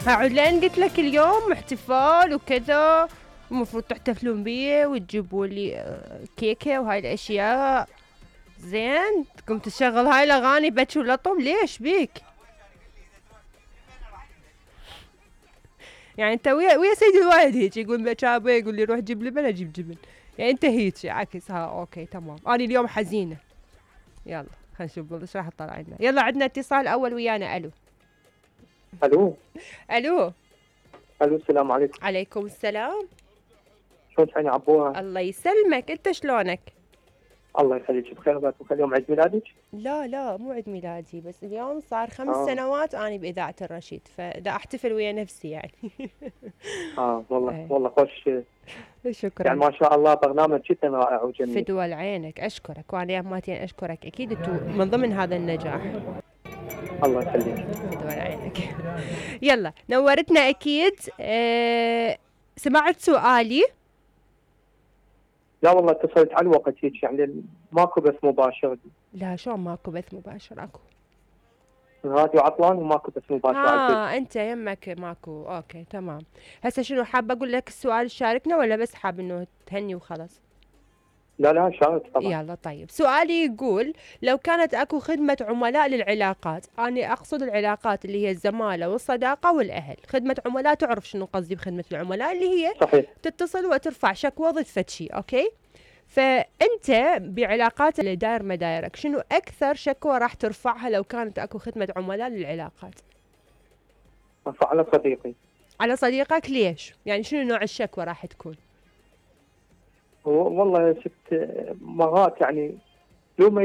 لان قلت لك اليوم احتفال وكذا، المفروض تحتفلون بيه وتجيبوا لي كيكه وهاي الاشياء. زين تقوم تشغل هاي الاغاني بكي ولطم، ليش بيك؟ يعني انت ويا سيد الوالد هيك يقول بكابه، يقول لي روح جيب لبن اجيب جبن، يعني انت هيك عكس. اوكي تمام، انا اليوم حزينه. يلا خلينا نشوف ايش راح تطلع لنا. يلا عندنا اتصال اول ويانا. الو الو. الو الو السلام عليكم. عليكم السلام. شلون تحيني عبوها؟ الله يسلمك، انت شلونك؟ الله يخليك بخير. بكره يوم عيد ميلادك؟ لا مو عيد ميلادي، بس اليوم صار 5 سنوات اني باذاعه الرشيد، فدا احتفل ويا نفسي يعني. والله والله خوش. شكرا. يعني ما شاء الله برنامج جدا رائع وجميل. فدوى لعينك، اشكرك، وانا يا ماتين اشكرك، اكيد انتم من ضمن هذا النجاح. الله يخليك. فدوى لعينك. يلا نورتنا اكيد. سمعت سؤالي؟ لا والله اتصلت على الوقت هيك، يعني ماكو بث مباشر. لا شلون ماكو بث مباشر؟ اكو الراديو عطلان وماكو بث مباشر. انت يمك ماكو. اوكي تمام. هسه شنو حابه اقول لك السؤال شاركنا، ولا بس حاب انه تهني وخلاص؟ لا شارك طبعا. يلا طيب، سؤالي يقول لو كانت اكو خدمة عملاء للعلاقات، أنا أقصد العلاقات اللي هي الزمالة والصداقة والأهل. خدمة عملاء تعرف شنو قصدي بخدمة العملاء، اللي هي صحيح. تتصل وترفع شكوى ضد فد شي. أوكي، فأنت بعلاقات اللي داير مدايرك، شنو أكثر شكوى راح ترفعها لو كانت اكو خدمة عملاء للعلاقات؟ ارفع على صديقي. على صديقك؟ ليش؟ يعني شنو نوع الشكوى راح تكون؟ والله شفت مرات يعني لو ما